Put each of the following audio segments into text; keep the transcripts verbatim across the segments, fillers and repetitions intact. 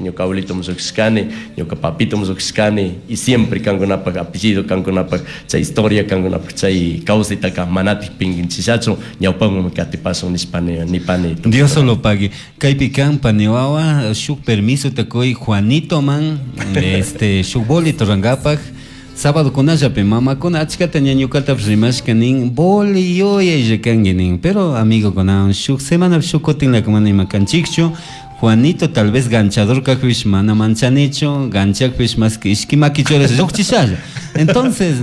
Ñuka abuelito llukshishkani, ñuka papito llukshishkani y siempre kankunapak apellido, kankunapak chay historia, kankunapak chay kawsaytaka manatik pinkinchishachu, ñawpaman katipashun nishpani nipani. Dios solo pague. Kaypi kan paniwawa shuk permiso takuy Juanito man este shuk bolito rangapak sábado kunallapi mamakuna achkata ñañukatapish rimashka nin boli yuyaylla kanki nin, pero amigokunawan shuk semanapi shuk kutinlaka mana ima kanchikchu. Juanito tal vez ganchador kakpish mana manchanichu, ganchakpish más que ishki makichurash llukchishalla. Entonces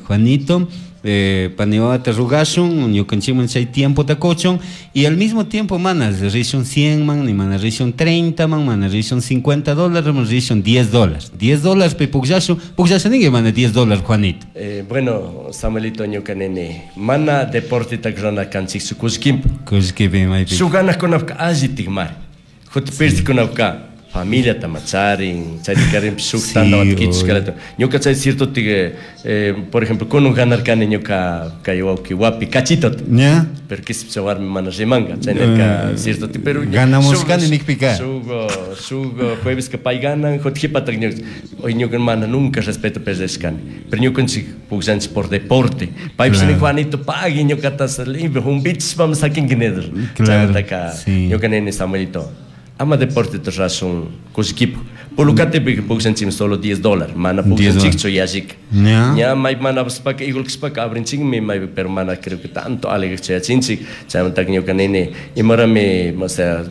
Juanito, eh, paniwawata rugashun ñukanchikman chay tiempota kuchun y al mismo tiempo mana rishun cien man ni mana rishun treinta man, mana rishun cincuenta dólares, mana rishun diez dólares. diez dólares pi pukllashun, pukllashun ninki mana diez dólares Juanito. Eh, bueno, Samuelito, ñuka nini, mana deporteta rurana kanchikchu kullkipi. Kullkipi maypi. Shuk ganajkunapka alli tikmari. Juti pirtikunapka familia macharin, chaytikarin shuk tandawata kichushkalata. Ñuka chay cierto tige, eh, por ejemplo, kunun ganarkani ñuka kay wawki wapi cachitota. ¿Ya? Pero kispi warmi mana rimanka, chaynaka cierto ti, pero Ganamos kani nikpika. Shuk shuk jueves que pay ganan, juti jipatak ñuka, hoy ñuka mana nunca respeto perdeshkani. Pero ñukanchik pukllanchik por deporte. Paypish nin Juanito pagui ñukata limpio, humbichishpami sakinki nidur. Claro, Chaymantaka sí. ñuka nini Samuelito, ama deporte rurasun kullkipi. Pulucatepi pukllanchikmi solo diez dólares, mana pukllanchikchu yallika. Ya. Ña may mana paspaka igual kashpaka abrinchikmi may, pero mana creo que tanto alegre yachinchik. Chaymantaka ñuka nini, imarami, o sea,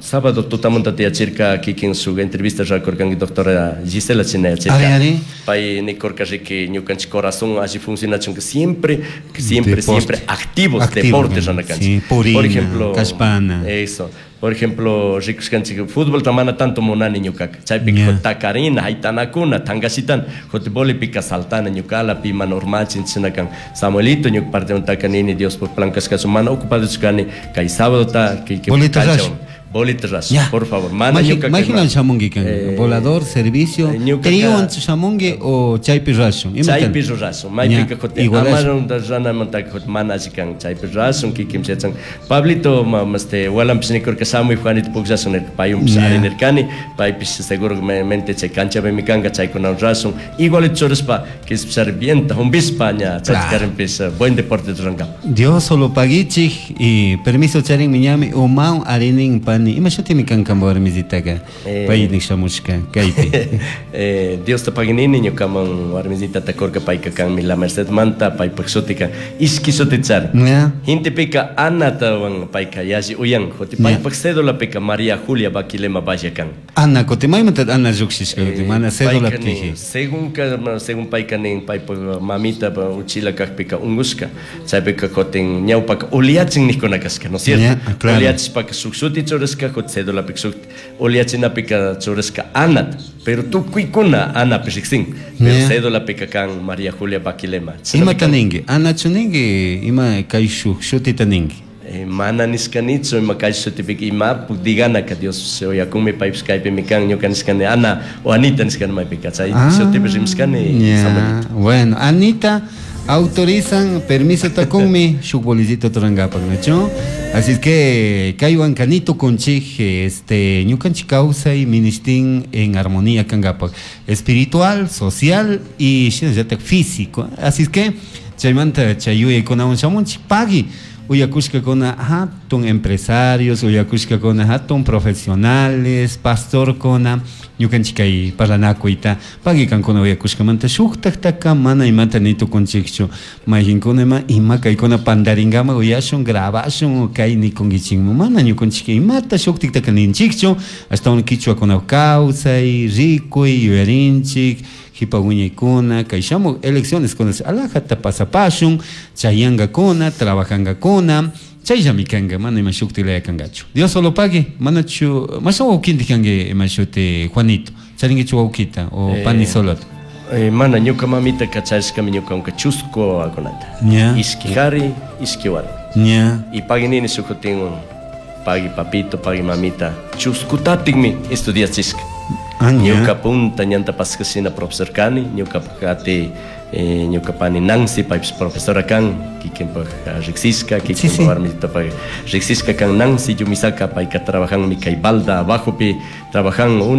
sábado tutamanta tiyachirka kikin shuk entrevista rurakurkanki doctora Gisela china yachirka. Ari, ari. Pay nikurka riki ñukanchik corazón alli funcionachunka siempre, siempre, Deporte. siempre activos, Activo, deportes ¿no? ranakanchik. Sí, purina, por ejemplo, kashpana. Eso. Por ejemplo, rikushkanchik fútbol ta mana tanto munani ñukaka. Chaypi Ya. takarina, haytanakuna, tangashitan, jote bolipika saltana ñukala, pi mana urmachin chinakan. Samuelito ñuka parte nini Dios por plan kashkachu mana ocupado kani kay sábado ta que que Bolita cancha rash. Bolita rash, Ya. por favor. Mana Maji- ñuka Majinan shamunki kan. Eh, Volador, servicio, eh, ñuka triwan ka- shamunki o chaypi rashun. Ima Chaypi tan? rurashun. Maypika Ya, jote igual amaron ranamantaka jote mana alli kan chaypi rurashun kikin yachan. Pablito ma este walampish nikurka shamuy Juanito pukllashun nirka payunpish Ya. ari nirkani, paypish seguramente chay kanchapimi kanka chaykunawan rurashun. Igual churashpa kispishari vienta humbishpa ña chaykarinpish buen deporte rurankapak. Dios solo paguichik y permiso charin miñami umaw arinin pani. Ima shutimi kan kan warmisitaka. Eh. Pay nik shamushka kaypi. Eh, Dios te paginini ñukaman warmisitata kurka payka kanmi La Merced manta paypak shutika ishki shutichari. Ya. Hintipika Anatawan payka yalli uyan juti paypak cédulapika María Julia Baquilema Valle kan. Ana kuti maymanta Ana llukshishka kuti mana cédula Payka nin, piji. según ka, según payka nin paypak mamita pa uchila kakpika ungushka chaypika kutin ñawpaka uliachin nikuna kashka, ¿no es cierto? Ya, claro. Uliachishpaka shuk shuti churashka juti cédulapika shuk uliachinapika churashka Anata, pero tukuykuna Anapi riksin, pero Ya. cédulapika kan María Julia Baquilema. Imata ninki? Anachu ninki? Ima kay shuk shutita ninki? Eh, mana nishkanichu ima kay shutipika ima diganaka Dios uyakunmi paypish kaypimi kan ñuka nishkani Ana o Anita nishkani maypika chay Ah, shutipi rimashkani ya. Samuelito. Bueno, Anita autorizan permiso takunmi shuk bolicito turankapak, ¿no? Así es que kaywan kanito kunchik este ñukanchik kawsay ministin en armonía kankapak espiritual, social y shinallatak físico. Así es que chaymanta chay yuyaykunawan shamunchik pagui uyakushkakuna hatun empresarios, uyakushkakuna hatun profesionales, pastorkuna, ñukanchik kay parlanakuyta pagui kankuna uyakushkamanta shuktaktaka mana imata ni tukunchikchu mayqinkuna ima ima kaykuna pandaringama uyashun grabashun kay nikunkichikman mana ñukanchik imata shuktiktaka ninchikchu ashtawan kichwakuna kawsay rikuy yuyarinchik jipa wiñaykuna kay shamuk elecciones kuna alajata pasapashun chayankakuna trabajankakuna chayllami kanka mana ima shukti laya kankachu Dios solo pague manachu mashan wawkintik kanki ima shuti Juanito charinkichu wawkita o Eh, pani solota. Eh, mana ñuka mamita kachashkami ñuka chusku wawakunata. Ya. Ishki kari, ishki warmi. Ya. Y paginini shukutin pagui papito, pagui mamita, chuskutatikmi estudiachishka. Ah, ya. Ñuka punta ñanta paskashina profesor kani, ñuka kati eh, ñuka pani Nancy paypish profesora kan, kikinpak riksishka, kikinpak sí. warmitapaq riksishka kan Nancy Yumisaka, payka trabajanmi kay Balda abajopi, trabajan uni